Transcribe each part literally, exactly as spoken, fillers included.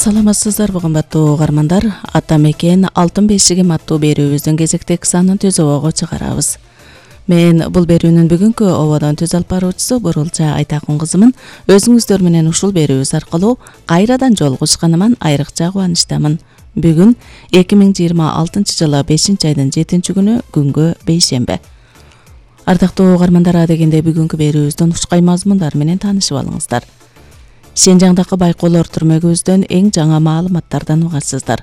Саламатсыздарбы кымбаттуу угармандар? Ата мекен Алтын бешигим аттуу берүүбүздүн кезектеги санын түз обого чыгарабыз. Мен бул берүүнүн бүгүнкү ободон түз алып баруучусу Бурулча Айтакун кызымын. Өзүңүздөр менен ушул берүүбүз аркылуу кайрадан жолугушканыман айрыкча кубанычтамын. Бүгүн эки миң жыйырма алтынчы жылы бешинчи айдын жетинчи күнү күнгө бейшемби. Ардактуу угармандар, адегенде бүгүнкү берүүбүздүн ушкай мазмундар менен таанышып алыңыздар. Сенжаңдагы байкоолор түрмөгүбүздөн эң жаңы маалыматтардан угасыздар.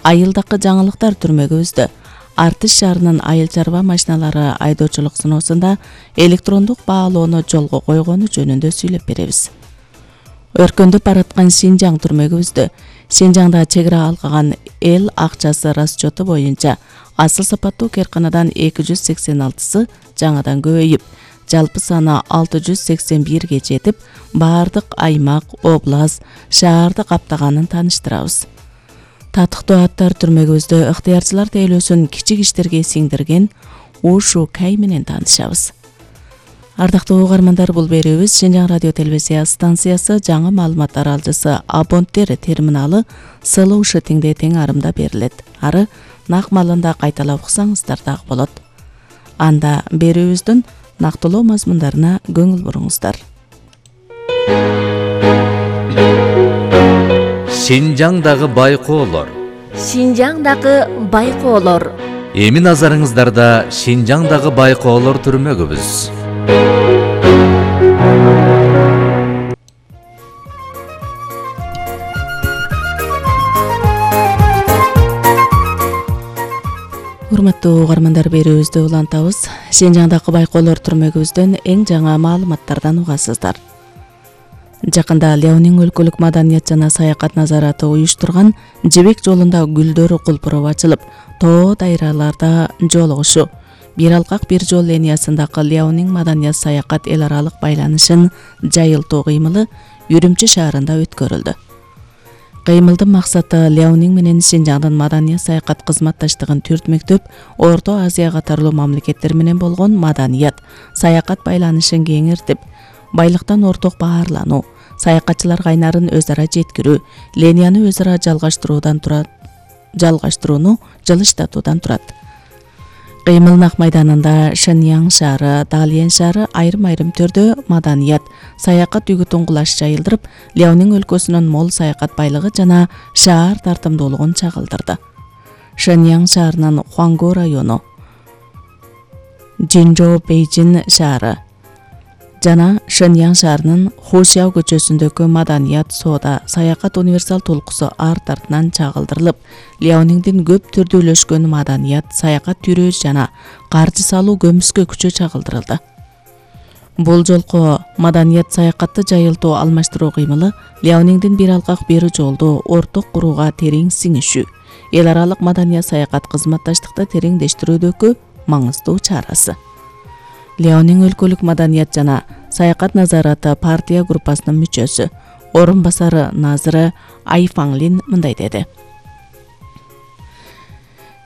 Айылдагы жаңылыктар түрмөгүбүздө Артыш шаарынын айыл чарба машиналары айдоочулук сыноосунда электрондук баалоону жолго койгону жөнүндө сүйлөп беребиз. Өркөндөп бараткан Синжаң түрмөгүбүздө Синжаңда чек ара алган эл акчасы расчёту боюнча асыл сапаттуу кээрканадан эки жүз сексен алтысы жаңадан көбөйүп, жалпы саны алты жүз сексен бирге жетип, баардык аймак, област, шаарды каптаганын тааныштырабыз. Татыктуу аттар түрмөгүбүздө ыктыярчылар тейлөөсүн кичик иштерге сиңдирген Ушу Кай менен таанышабыз. Ардактуу угармандар, бул берүүбүз Синжаң радио телевизия станциясы жаңы маалыматтар алжысы абонттер терминалы Слушай теңде тең арымда берилет. Ары нак маалында кайталап уксаңыздар дагы болот. Анда берүүбүздүн нактылуу мазмундарына көңүл буруңуздар. Синжаңдагы байкоолор. Синжаңдагы байкоолор. Эми назарыңыздарда Синжаңдагы байкоолор түрмөгүбүз. Урматтуу угармандар, берүүбүздү улантабыз. Синжаңдагы байкоолор түрмөгүбүздөн эң жаңы маалыматтардан угасыздар. Жакында Леонин өлкөлүк маданият жана саякат назараты уюштурган Жебек жолунда гүлдөр кулпуроп ачылып, тоо дайраларда жолугушу, бир алкак бир жол линиясындагы Леонин маданият саякат эл аралык байланышын жайылтуу кыймылы Үрүмчү шаарында өткөрүлдү. Кыймылдын максаты Леонин менен Синжаңдын маданият саякат кызматташтыгын түртмөктөп, Орто Азия катарлуу мамлекеттер менен болгон маданият саякат байланышын кеңиртип, байлыктан орток баарлануу, саякатчылар кайнарын өз ара жеткирүү, линияны өз ара жалгаштыруудан турат, жалгаштырууну жылыштатуудан турат. Кыймыл нак майданында Шэньян шаары, Далиен шаары айрым-айрым түрдө маданият, саякат үгүтүн кулаш жайылдырып, Леонин өлкөсүнүн мол саякат байлыгы жана шаар тартымдуулугун чагылдырды. Шэньян шаарынын Хуангу району, Жинжоу Бейжин шаары жана Шэньян шаарынын Хушяо көчөсүндөгү маданият, соода, саякат универсал толкусу арт артынан чагылдырылып, Леониндин көп түрдүүлөшкөн маданият, саякат түрү жана каржы салуу көмүскө күчө чагылдырылды. Бул жолку маданият саякатты жайылтуу алмаштыруу кыймылы Леониндин бир алкак бир жолду орток курууга терең сиңишүү, эл аралык маданият саякат кызматташтыкты тереңдештирүүдөгү маңыздуу чарасы. Леонин өлкөлүк маданият жана саякат назараты партия группасынын мүчөсү, орун басары назыры Ай Фанлин мындай деди.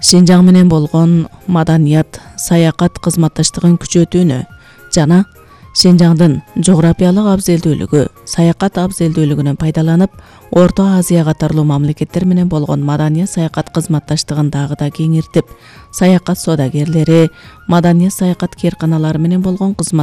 Синжаң менен болгон маданият саякат кызматташтыгын күчөтүүнү жана Синжаңдын жографиялык абзелдүүлүгү, саякат абзелдүүлүгүнөн пайдаланып, Орто Азия катарлуу мамлекеттер менен болгон маданият саякат кызматташтыгын дагы да кеңиртип, саякат соодагерлери, маданият саякат кээрканалары менен болгон кызмат